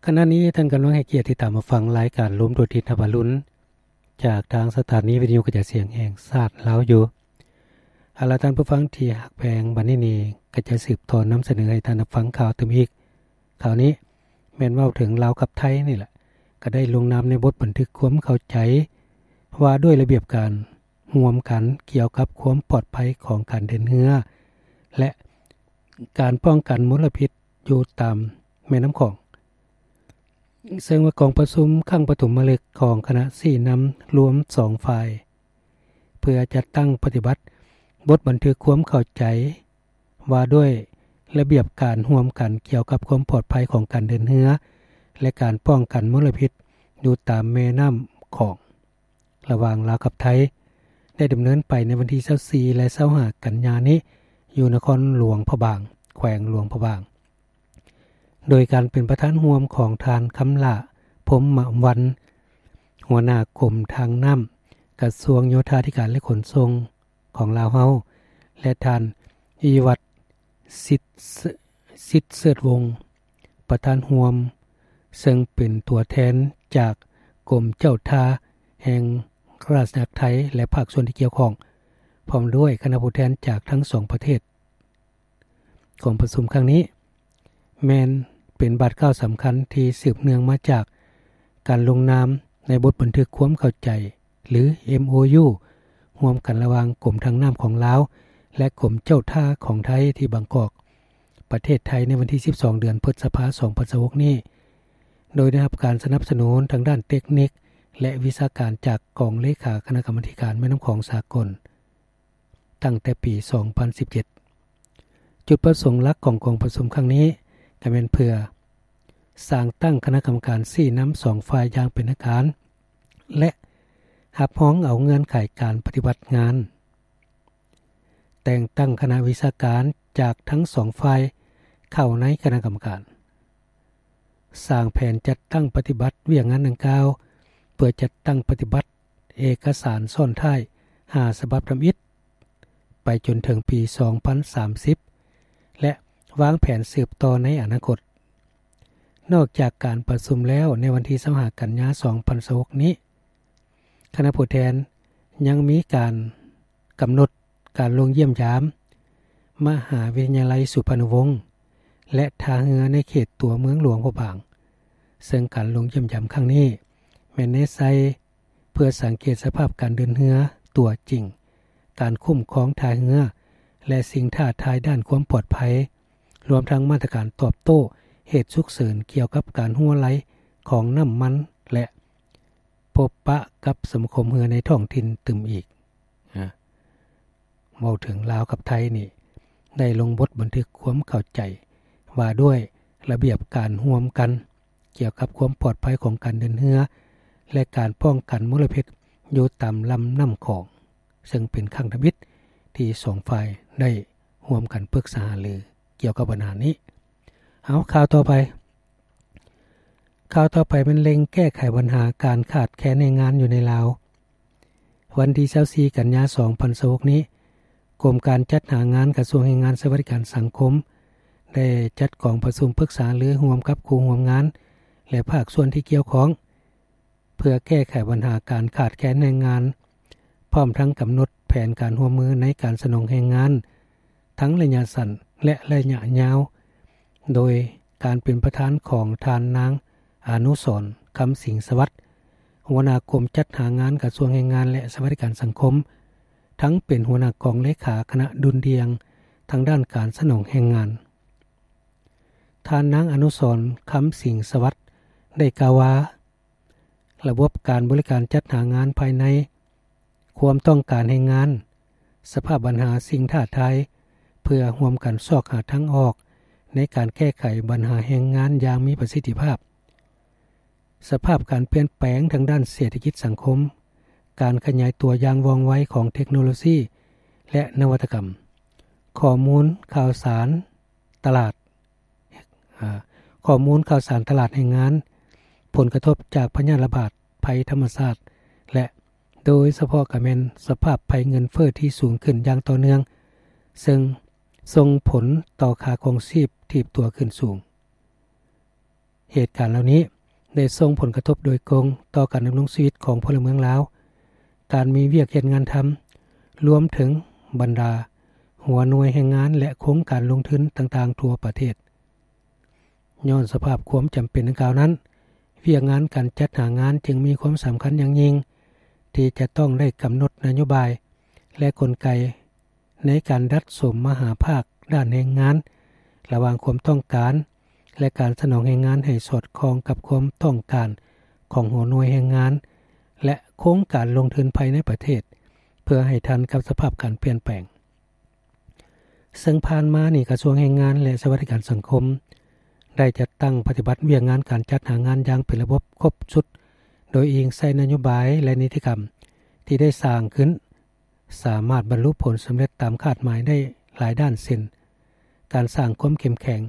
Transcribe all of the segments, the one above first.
ຂະນະນີ້ທ່ານກຳລັງໃຫ້ກຽດຕິດຕາມຮັບຟັງລາຍການລົມທົ່ວທິດຮັບອະລຸນ ຈາກທາງສະຖານີວິທະຍຸກະຈາຍສຽງແຫ່ງຊາດລາວຢູ່. ເອົາລະ ທ່ານຜູ້ຟັງທີ່ຮັກແພງ, ບັດນີ້ນີ້ກະຈະສືບຕໍ່ນຳສະເໜີໃຫ້ທ່ານຮັບຟັງຂ່າວຕື່ມອີກ. ຂ່າວນີ້ແມ່ນເວົ້າເຖິງລາວກັບໄທນີ້ແຫຼະ ກະໄດ້ລົງນາມໃນບົດບັນທຶກຄວາມເຂົ້າໃຈວ່າດ້ວຍລະບຽບການຮ່ວມກັນກ່ຽວກັບຄວາມປອດໄພຂອງການເດີນເຮືອ ແລະ ການປ້ອງກັນມົນລະພິດຢູ່ຕາມແມ່ນ້ຳຂອງ. ເຊິ່ງວ່າກອງປະຊຸມຄັ້ງປະຖົມມະລຶກຂອງຄະນະຊີ້ນຳລວມສອງຝ່າຍ ເພື່ອຈັດຕັ້ງປະຕິບັດບົດບັນທຶກຄວາມເຂົ້າໃຈວ່າດ້ວຍລະບຽບການຮ່ວມກັນກ່ຽວກັບຄວາມປອດໄພຂອງການເດີນເຮືອ ແລະ ການປ້ອງກັນມົນລະພິດຢູ່ຕາມແມ່ນ້ຳຂອງ ລະຫວ່າງລາວກັບໄທ ໄດ້ດຳເນີນໄປໃນວັນທີຊາວສີ່ ແລະ ຊາວຫ້າ ກັນຍານີ້ ຢູ່ນະຄອນຫຼວງພະບາງ, ແຂວງຫຼວງພະບາງ. ໂດຍການເປັນປະທານຮ່ວມຂອງທ່ານ ຄຳຫຼ້າ ພົມມະວັນ ຫົວໜ້າກົມທາງນ້ຳ ກະຊວງໂຍທາທິການ ແລະ ຂົນສົ່ງຂອງລາວເຮົາ ແລະ ທ່ານ ອີວັດ ສິດ ສິດເສີດວົງ ປະທານຮ່ວມ ເຊິ່ງເປັນຕົວແທນຈາກກົມເຈົ້າທ່າແຫ່ງລາຊະອານາຈັກໄທ ແລະ ພາກສ່ວນທີ່ກ່ຽວຂ້ອງ ພ້ອມດ້ວຍຄະນະຜູ້ແທນຈາກທັງສອງປະເທດ. ກອງປະຊຸມຄັ້ງນີ້ແມ່ນເປັນບາດກ້າວສຳຄັນທີ່ສືບເນື່ອງມາຈາກການລົງນາມໃນບົດບັນທຶກຄວາມເຂົ້າໃຈ ຫຼື ເອັມໂອຢູ ຮ່ວມກັນລະຫວ່າງກົມທາງນ້ຳຂອງລາວ ແລະ ກົມເຈົ້າທ່າຂອງໄທທີ່ບາງກອກ ປະເທດໄທ ໃນວັນທີສິບສອງ ເດືອນພຶດສະພາ ສອງພັນຊາວຫົກນີ້ ໂດຍໄດ້ຮັບການສະໜັບສະໜູນທາງດ້ານເຕັກນິກ ແລະ ວິຊາການຈາກກອງເລຂາຄະນະກຳມາທິການແມ່ນ້ຳຂອງສາກົນ ຕັ້ງແຕ່ປີສອງພັນສິບເຈັດ. ຈຸດປະສົງຫຼັກຂອງກອງປະຊຸມຄັ້ງນີ້ ກໍແມ່ນເພື່ອສ້າງຕັ້ງຄະນະກຳມະການຊີ້ນຳສອງຝ່າຍຢ່າງເປັນທາງການ ແລະ ຮັບຮອງເອົາເງື່ອນໄຂການປະຕິບັດງານ, ແຕ່ງຕັ້ງຄະນະວິຊາການຈາກທັງສອງຝ່າຍເຂົ້າໃນຄະນະກຳມະການ, ສ້າງແຜນຈັດຕັ້ງປະຕິບັດວຽກງານດັ່ງກ່າວ ເພື່ອຈັດຕັ້ງປະຕິບັດເອກະສານຊ້ອນທ້າຍຫ້າສະບັບທຳອິດ ໄປຈົນເຖິງປີສອງພັນສາມສິບ ແລະ ວາງແຜນສືບຕໍ່ໃນອະນາຄົດ. ນອກຈາກການປະຊຸມແລ້ວ ໃນວັນທີຊາວຫ້າ ກັນຍາ ສອງພັນຊາວຫົກນີ້ ຄະນະຜູ້ແທນຍັງມີການກຳນົດການລົງຢ້ຽມຢາມມະຫາວິທະຍາໄລສຸພານຸວົງ ແລະ ທ່າເຮືອໃນເຂດຕົວເມືອງຫຼວງພະບາງ, ເຊິ່ງການລົງຢ້ຽມຢາມຄັ້ງນີ້ແມ່ນແນໃສ່ ເພື່ອສັງເກດສະພາບການເດີນເຮືອຕົວຈິງ, ການຄຸ້ມຄອງທ່າເຮືອ ແລະ ສິ່ງທ້າທາຍດ້ານຄວາມປອດໄພ, ລວມທັງມາດຕະການຕອບໂຕ້ເຫດສຸກເສີນກ່ຽວກັບການຮົ່ວໄຫຼຂອງນ້ຳມັນ ແລະ ພົບປະກັບສະມາຄົມເຮືອໃນທ້ອງຖິ່ນຕື່ມອີກ. ເວົ້າເຖິງລາວກັບໄທນີ້ ໄດ້ລົງບົດບັນທຶກຄວາມເຂົ້າໃຈວ່າດ້ວຍລະບຽບການຮ່ວມກັນ ກ່ຽວກັບຄວາມປອດໄພຂອງການເດີນເຮືອ ແລະ ການປ້ອງກັນມົນລະພິດຢູ່ຕາມລຳນ້ຳຂອງ, ເຊິ່ງເປັນຄັ້ງທຳອິດທີ່ສອງຝ່າຍໄດ້ຮ່ວມກັນປຶກສາຫາລືກ່ຽວກັບບັນຫານີ້. ເອົາ ຂ່າວຕໍ່ໄປ, ຂ່າວຕໍ່ໄປແມ່ນເລັ່ງແກ້ໄຂບັນຫາການຂາດແຄນແຮງງານຢູ່ໃນລາວ. ວັນທີຊາວສີ່ ກັນຍາ ສອງພັນຊາວຫົກນີ້, ກົມການຈັດຫາງານກະຊວງແຮງງານ ສະຫວັດດີການສັງຄົມ ໄດ້ຈັດກອງປະຊຸມປຶກສາຫາລືຮ່ວມກັບຄູ່ຮ່ວມງານ ແລະ ພາກສ່ວນທີ່ກ່ຽວຂ້ອງ ເພື່ອແກ້ໄຂບັນຫາການຂາດແຄນແຮງງານ, ພ້ອມທັງກຳນົດແຜນການຮ່ວມມືໃນການສະໜອງແຮງງານ ທັງໄລຍະສັ້ນ ແລະ ໄລຍະຍາວ, ໂດຍການເປັນປະທານຂອງທ່ານນາງ ອານຸສອນ ຄຳສິງສະຫວັດ ຫົວໜ້າກົມຈັດຫາງານກະຊວງແຮງງານ ແລະ ສະຫວັດດີການສັງຄົມ, ທັງເປັນຫົວໜ້າກອງເລຂາຄະນະດຸ່ນດ່ຽງທາງດ້ານການສະໜອງແຮງງານ. ທ່ານນາງ ອານຸສອນ ຄຳສິງສະຫວັດ ໄດ້ກ່າວວ່າ ລະບົບການບໍລິການຈັດຫາງານພາຍໃນ, ຄວາມຕ້ອງການແຮງງານ, ສະພາບບັນຫາສິ່ງທ້າທາຍ ເພື່ອຮ່ວມກັນຊອກຫາທາງອອກໃນການແກ້ໄຂບັນຫາແຮງງານຢ່າງມີປະສິດທິພາບ, ສະພາບການປ່ຽນແປງທາງດ້ານເສດຖະກິດສັງຄົມ, ການຂະຫຍາຍຕົວຢ່າງວ່ອງໄວຂອງເທັກໂນໂລຊີ ແລະ ນະວັດຕະກຳ, ຂໍ້ມູນຂ່າວສານຕະຫຼາດ ອາ ຂໍ້ມູນຂ່າວສານຕະຫຼາດແຮງງານ, ຜົນກະທົບຈາກພະຍາດລະບາດ, ໄພທຳມະຊາດ ແລະ ໂດຍສະເພາະກະແມ່ນສະພາບໄພເງິນເຟີ້ທີ່ສູງຂຶ້ນຢ່າງຕໍ່ເນື່ອງ, ເຊິ່ງສົ່ງຜົນຕໍ່ຄ່າຄອງຊີບຖີບຕົວຂຶ້ນສູງ. ເຫດການເຫຼົ່ານີ້ໄດ້ສົ່ງຜົນກະທົບໂດຍກົງຕໍ່ການດຳລົງຊີວິດຂອງພົນລະເມືອງລາວ, ການມີວຽກເຮັດງານທຳ, ລວມເຖິງບັນດາຫົວໜ່ວຍແຮງງານ ແລະ ໂຄງການລົງທຶນຕ່າງໆທົ່ວປະເທດ. ຍ້ອນສະພາບຄວາມຈຳເປັນດັ່ງກ່າວນັ້ນ, ວຽກງານການຈັດຫາງານຈຶ່ງມີຄວາມສຳຄັນຢ່າງຍິ່ງ ທີ່ຈະຕ້ອງໄດ້ກຳນົດນະໂຍບາຍ ແລະ ກົນໄກໃນການດັດສົມມະຫາພາກດ້ານແຮງງານ ລະຫວ່າງຄວາມຕ້ອງການ ແລະ ການສະໜອງແຮງງານໃຫ້ສອດຄ່ອງກັບຄວາມຕ້ອງການຂອງຫົວໜ່ວຍແຮງງານ ແລະ ໂຄງການລົງທຶນພາຍໃນປະເທດ ເພື່ອໃຫ້ທັນກັບສະພາບການປ່ຽນແປງ. ເຊິ່ງຜ່ານມານີ້ ກະຊວງແຮງງານ ແລະ ສະຫວັດດີການສັງຄົມ ໄດ້ຈັດຕັ້ງປະຕິບັດວຽກງານການຈັດຫາງານຢ່າງເປັນລະບົບຄົບຊຸດ, ໂດຍອີງໃສ່ນະໂຍບາຍ ແລະ ນິຕິກຳທີ່ໄດ້ສ້າງຂຶ້ນ ສາມາດບັນລຸຜົນສຳເລັດຕາມຄາດໝາຍໄດ້ຫຼາຍດ້ານ ເຊັ່ນ ການສ້າງຄວາມເຂັ້ມແຂງ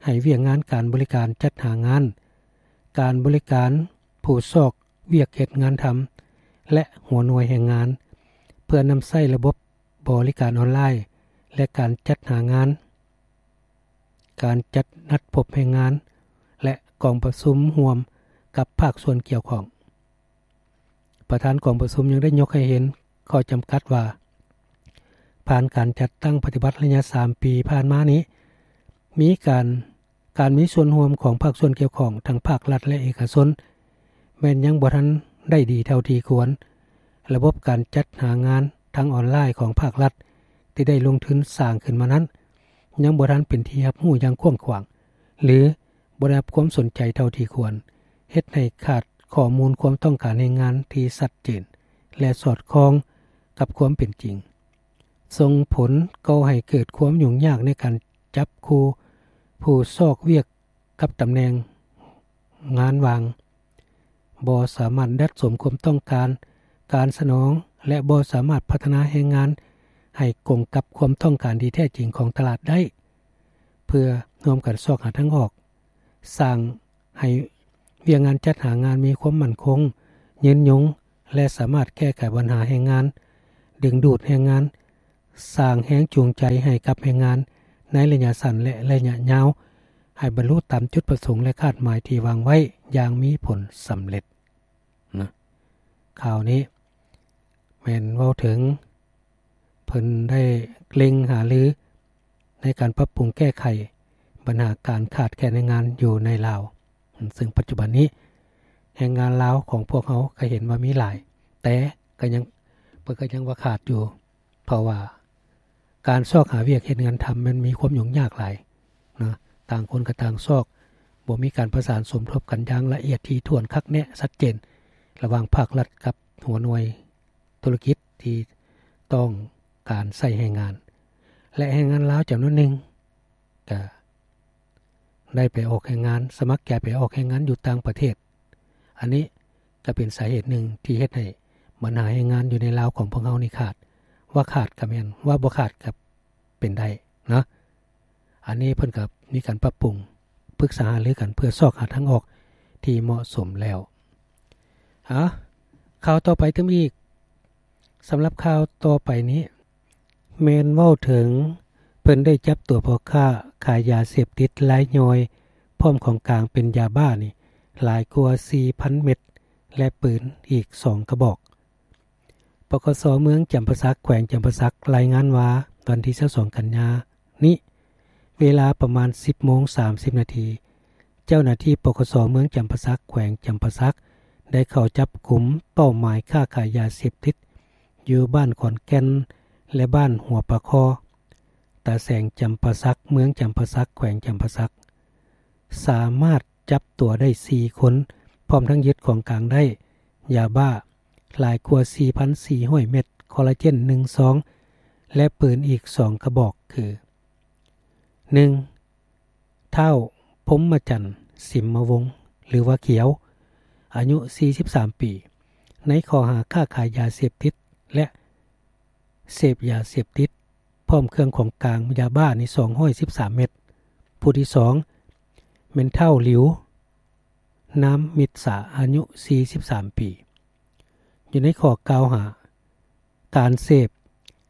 ໃຫ້ວຽກງານການບໍລິການຈັດຫາງານ, ການບໍລິການຜູ້ຊອກວຽກເຮັດງານທຳ ແລະ ຫົວໜ່ວຍແຮງງານ ເພື່ອນຳໃຊ້ລະບົບບໍລິການອອນລາຍ ແລະ ການຈັດຫາງານ, ການຈັດນັດພົບແຮງງານ ແລະ ກອງປະຊຸມຮ່ວມກັບພາກສ່ວນກ່ຽວຂ້ອງ. ປະທານກອງປະຊຸມຍັງໄດ້ຍົກໃຫ້ເຫັນຂໍ້ຈຳກັດວ່າ ຜ່ານການຈັດຕັ້ງປະຕິບັດໄລຍະສາມປີຜ່ານມານີ້ ມີການ ການມີສ່ວນຮ່ວມຂອງພາກສ່ວນກ່ຽວຂ້ອງ ທັງພາກລັດ ແລະ ເອກະຊົນ ແມ່ນຍັງບໍ່ທັນໄດ້ດີເທົ່າທີ່ຄວນ. ລະບົບການຈັດຫາງານທາງອອນລາຍຂອງພາກລັດ ທີ່ໄດ້ລົງທຶນສ້າງຂຶ້ນມານັ້ນ ຍັງບໍ່ທັນເປັນທີ່ຮັບຮູ້ຢ່າງກວ້າງຂວາງ ຫຼື ບໍ່ໄດ້ຮັບຄວາມສົນໃຈເທົ່າທີ່ຄວນ, ເຮັດໃຫ້ຂາດຂໍ້ມູນຄວາມຕ້ອງການແຮງງານທີ່ຊັດເຈນ ແລະ ສອດຄ່ອງກັບຄວາມເປັນຈິງ, ສົ່ງຜົນກໍ່ໃຫ້ເກີດຄວາມຫຍຸ້ງຍາກໃນການຈັບຄູ່ຜູ້ຊອກວຽກກັບຕຳແໜ່ງງານວ່າງ, ບໍ່ສາມາດດັດສົມຄວາມຕ້ອງການການສະໜອງ ແລະ ບໍ່ສາມາດພັດທະນາແຮງງານໃຫ້ກົງກັບຄວາມຕ້ອງການທີ່ແທ້ຈິງຂອງຕະຫຼາດໄດ້. ເພື່ອຮ່ວມກັນຊອກຫາທາງອອກ, ສ້າງໃຫ້ວຽກງານຈັດຫາງານມີຄວາມໝັ້ນຄົງ, ຍືນຍົງ ແລະ ສາມາດແກ້ໄຂບັນຫາແຮງງານ, ດຶງດູດແຮງງານ, ສ້າງແຮງຈູງໃຈໃຫ້ກັບແຮງງານໃນໄລຍະສັ້ນ ແລະ ໄລຍະຍາວ ໃຫ້ບັນລຸຕາມຈຸດປະສົງ ແລະ ຄາດໝາຍທີ່ວາງໄວ້ຢ່າງມີຜົນສຳເລັດນະ. ຂ່າວນີ້ແມ່ນເວົ້າເຖິງ ເພິ່ນໄດ້ເລັ່ງຫາລືໃນການປັບປຸງແກ້ໄຂບັນຫາການຂາດແຄນແຮງງານຢູ່ໃນລາວ, ເຊິ່ງປັດຈຸບັນນີ້ແຮງງານລາວຂອງພວກເຮົາກໍເຫັນວ່າມີຫຼາຍ, ແຕ່ກໍຍັງ ເພິ່ນກໍຍັງວ່າຂາດຢູ່, ເພາະວ່າການຊອກຫາວຽກເຮັດງານທຳມັນມີຄວາມຫຍຸ້ງຍາກຫຼາຍເນາະ, ຕ່າງຄົນກໍຕ່າງຊອກ, ບໍ່ມີການປະສານສົມທົບກັນຢ່າງລະອຽດຖີ່ຖ້ວນ ຄັກແນ່ ຊັດເຈນ ລະຫວ່າງພາກລັດກັບຫົວໜ່ວຍ ທຸລະກິດທີ່ຕ້ອງການໃຊ້ແຮງງານ ແລະ ແຮງງານລາວຈຳນວນໜຶ່ງກະໄດ້ໄປອອກແຮງງານ, ສະໝັກໃຈໄປອອກແຮງງານຢູ່ຕ່າງປະເທດ. ອັນນີ້ກະເປັນສາເຫດໜຶ່ງທີ່ເຮັດໃຫ້ບັນຫາແຮງງານຢູ່ໃນລາວຂອງພວກເຮົານີ້ຂາດ. ວ່າຂາດກະແມ່ນ, ວ່າບໍ່ຂາດກະເປັນໄດ້ເນາະ. ອັນນີ້ເພິ່ນກໍມີການປັບປຸງ, ປຶກສາຫາລືກັນເພື່ອຊອກຫາທາງອອກທີ່ເໝາະສົມແລ້ວ. ເອົາ, ຂ່າວຕໍ່ໄປຕື່ມອີກ. ສຳລັບຂ່າວຕໍ່ໄປນີ້ ແມ່ນເວົ້າເຖິງເພິ່ນໄດ້ຈັບຕົວພໍ່ຄ້າຂາຍຢາເສບຕິດລາຍຍ່ອຍ ພ້ອມຂອງກາງເປັນຢາບ້ານີ້ຫຼາຍກວ່າສີ່ພັນເມັດ ແລະ ປືນອີກສອງກະບອກ. ປກສ ເມືອງຈຳປາສັກ ແຂວງຈຳປາສັກ ລາຍງານວ່າ ວັນທີຊາວສອງ ກັນຍານີ້ ເວລາປະມານ ສິບໂມງ ສາມສິບນາທີ ເຈົ້າໜ້າທີ່ ປກສ ເມືອງຈຳປາສັກ ແຂວງຈຳປາສັກ ໄດ້ເຂົ້າຈັບກຸມເປົ້າໝາຍຄ້າຂາຍຢາເສບຕິດ ຢູ່ບ້ານຂອນແກ່ນ ແລະ ບ້ານຫົວປາຄໍ່ ຕາແສງຈຳປາສັກ ເມືອງຈຳປາສັກ ແຂວງຈຳປາສັກ ສາມາດຈັບຕົວໄດ້ສີ່ຄົນ ພ້ອມທັງຍຶດຂອງກາງໄດ້ ຢາບ້າ ຫຼາຍກວ່າ ສີ່ພັນສີ່ຮ້ອຍເມັດ, ຄໍລາເຈນ ໜຶ່ງຊອງ ແລະ ປືນອີກສອງກະບອກ ຄື ໜຶ່ງ ທ້າວ ພົມມະຈັນ ສິມມະວົງ ຫຼືວ່າຂຽວ ອາຍຸ ສີ່ສິບສາມປີ ໃນຂໍ້ຫາຄ້າຂາຍຢາເສບຕິດ ແລະ ເສບຢາເສບຕິດ ພ້ອມເຄື່ອງຂອງກາງຢາບ້ານີ້ ສອງຮ້ອຍສິບສາມເມັດ. ຜູ້ທີສອງ ແມ່ນທ້າວ ຫຼິວ ນາມ ມິດສາ ອາຍຸ ສີ່ສິບສາມປີ ຢູ່ໃນຂໍ້ກ່າວຫາ ການເສບ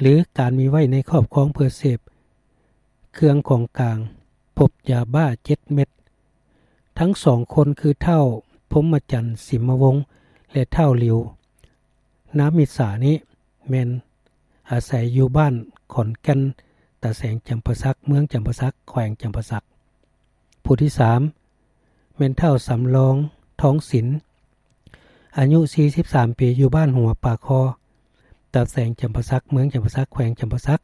ຫຼື ການມີໄວ້ໃນຄອບຄອງເພື່ອເສບເຄື່ອງຂອງກາງ, ພົບຢາບ້າເຈັດເມັດ, ທັງສອງຄົນຄືທ້າວພົມມະຈັນ ສິມມະວົງ ແລະ ທ້າວຫຼິວ ນາມິດສານີ້ ແມ່ນອາໄສຢູ່ບ້ານຂອນແກ່ນ ຕາແສງຈຳປາສັກ ເມືອງຈຳປາສັກ ແຂວງຈຳປາສັກ. ຜູ້ທີສາມ ແມ່ນທ້າວສຳລອງ ທອງສິນ ອາຍຸສີ່ສິບສາມປີ ຢູ່ບ້ານຫົວປາຄໍ ຕາແສງຈຳປາສັກ ເມືອງຈຳປາສັກ ແຂວງຈຳປາສັກ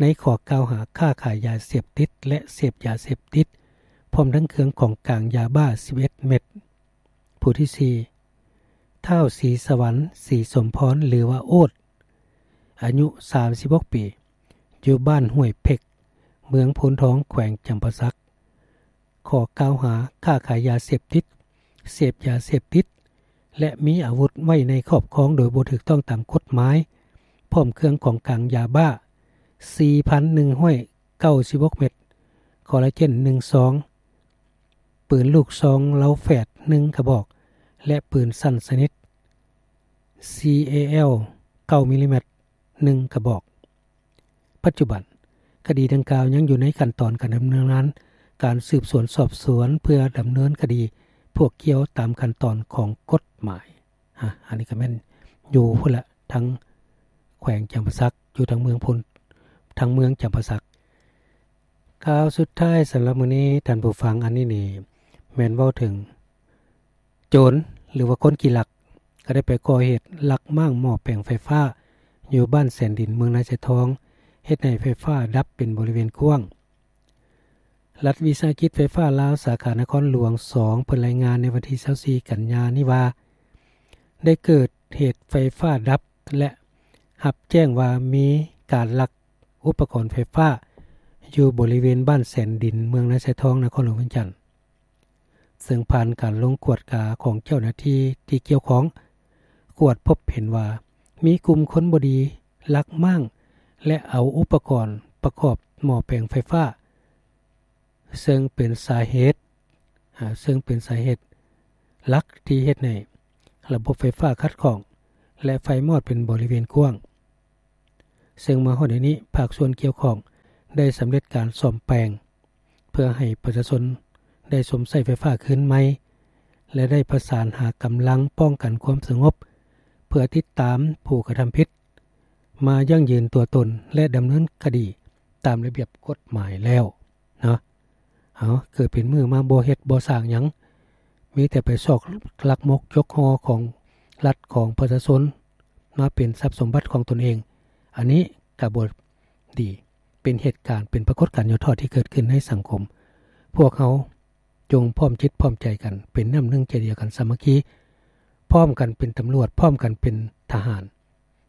ໃນຂໍ້ກ່າວຫາຄ້າຂາຍຢາເສບຕິດ ແລະ ເສບຢາເສບຕິດ ພ້ອມທັງເຄື່ອງຂອງກາງຢາບ້າສິບເອັດເມັດ. ຜູ້ທີສີ່ ທ້າວສີສະຫວັນ ສີສົມພອນ ຫຼືວ່າໂອດ ອາຍຸສາມສິບຫົກປີ ຢູ່ບ້ານຫ້ວຍເພັກ ເມືອງໂພນທອງ ແຂວງຈຳປາສັກ ຂໍ້ກ່າວຫາຄ້າຂາຍຢາເສບຕິດ, ເສບຢາເສບຕິດ ແລະ ມີອາວຸດໄວ້ໃນຄອບຄອງໂດຍບໍ່ຖືກຕ້ອງຕາມກົດໝາຍ ພ້ອມເຄື່ອງຂອງກາງຢາບ້າ ສີ່ພັນໜຶ່ງຮ້ອຍເກົ້າສິບຫົກເມັດ, ຄໍລາເຈນ ໜຶ່ງຊອງ, ປືນລູກຊອງເລົາແຝດ ໜຶ່ງກະບອກ ແລະ ປືນສັ້ນຊະນິດ ຊີເອແອລ ເກົ້າມິລລີແມັດ ໜຶ່ງກະບອກ. ປັດຈຸບັນ, ຄະດີດັ່ງກ່າວຍັງຢູ່ໃນຂັ້ນຕອນການດຳເນີນງານການສືບສວນສອບສວນ ເພື່ອດຳເນີນຄະດີພວກກ່ຽວຕາມຂັ້ນຕອນຂອງກົດໝາຍ. ອາ ອັນນີ້ກໍແມ່ນຢູ່ພຸ້ນລະ ທາງແຂວງຈຳປາສັກ ຢູ່ທາງເມືອງພຸ້ນ ທາງເມືອງຈຳປາສັກ. ຂ່າວສຸດທ້າຍສຳລັບມື້ນີ້ ທ່ານຜູ້ຟັງ, ອັນນີ້ນີ້ແມ່ນເວົ້າເຖິງ ໂຈນ ຫຼືວ່າຄົນຂີ້ລັກ ກໍໄດ້ໄປກໍ່ເຫດລັກມ້າງໝໍ້ແປງໄຟຟ້າ ຢູ່ບ້ານແສນດິນ ເມືອງນາຊາຍທອງ ເຮັດໃຫ້ໄຟຟ້າດັບເປັນບໍລິເວນກວ້າງ. ລັດວິສາຫະກິດໄຟຟ້າລາວ ສາຂານະຄອນຫຼວງສອງ ເພິ່ນລາຍງານໃນວັນທີຊາວສີ່ ກັນຍານີ້ວ່າ ໄດ້ເກີດເຫດໄຟຟ້າດັບ ແລະ ຮັບແຈ້ງວ່າມີການລັກອຸປະກອນໄຟຟ້າ ຢູ່ບໍລິເວນບ້ານແສນດິນ ເມືອງນາຊາຍທອງ ນະຄອນຫຼວງວຽງຈັນ. ເຊິ່ງຜ່ານການລົງກວດກາຂອງເຈົ້າໜ້າທີ່ທີ່ກ່ຽວຂ້ອງ ກວດພົບເຫັນວ່າມີກຸ່ມຄົນບໍ່ດີລັກມ້າງ ແລະ ເອົາອຸປະກອນປະກອບໝໍ້ແປງໄຟຟ້າ ເຊິ່ງເປັນສາເຫດ ອາ ເຊິ່ງເປັນສາເຫດຫຼັກທີ່ເຮັດໃຫ້ລະບົບໄຟຟ້າຂັດຂ້ອງ ແລະ ໄຟມອດເປັນບໍລິເວນກວ້າງ. ເຊິ່ງມາຮອດດຽວນີ້ ພາກສ່ວນກ່ຽວຂ້ອງໄດ້ສຳເລັດການສ້ອມແປງ ເພື່ອໃຫ້ປະຊາຊົນໄດ້ຊົມໃຊ້ໄຟຟ້າຄືນໃໝ່ ແລະ ໄດ້ປະສານຫາກຳລັງປ້ອງກັນຄວາມສະຫງົບ ເພື່ອຕິດຕາມຜູ້ກະທຳຜິດມາຢັ້ງຢືນຕົວຕົນ ແລະ ດຳເນີນຄະດີຕາມລະບຽບກົດໝາຍແລ້ວເນາະ. ເອົາ ເກີດເປັນມື້ມາບໍ່ເຮັດບໍ່ສ້າງຫຍັງ ມີແຕ່ໄປຊອກລັກມົກຈົກຫໍ່ຂອງລັດຂອງປະຊາຊົນ ມາເປັນຊັບສົມບັດຂອງຕົນເອງ ອັນນີ້ກະບໍ່ດີ ເປັນເຫດການ ເປັນປາກົດການຫຍໍ້ທໍ້ທີ່ເກີດຂຶ້ນໃນສັງຄົມ. ພວກເຮົາຈົ່ງພ້ອມຈິດພ້ອມໃຈກັນ ເປັນນ້ຳໜຶ່ງໃຈດຽວກັນ ສາມັກຄີ ພ້ອມກັນເປັນຕຳຫຼວດ ພ້ອມກັນເປັນທະຫານ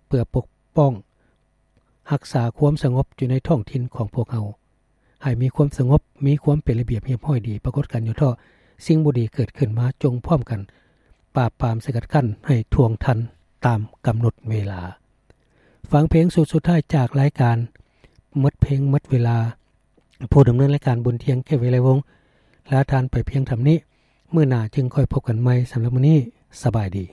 ເພື່ອປົກປ້ອງຮັກສາຄວາມສະຫງົບຢູ່ໃນທ້ອງຖິ່ນຂອງພວກເຮົາ ໃຫ້ມີຄວາມສະຫງົບ ມີຄວາມເປັນລະບຽບຮຽບຮ້ອຍດີ ປາກົດການຫຍໍ້ທໍ້ ສິ່ງບໍ່ດີເກີດຂຶ້ນມາ ຈົ່ງພ້ອມກັນປາບປາມສະກັດກັ້ນໃຫ້ທ່ວງທັນຕາມກຳນົດເວລາ. ຟັງເພງຊຸດສຸດທ້າຍຈາກລາຍການໝົດເພງໝົດເວລາ. ຜູ້ດຳເນີນລາຍການ ບຸນທຽງ ແກ້ວວິໄລວົງ ລາທ່ານໄປພຽງເທົ່ານີ້. ມື້ໜ້າຈຶ່ງຄ່ອຍພົບກັນໃໝ່. ສຳລັບມື້ນີ້ ສະບາຍດີ.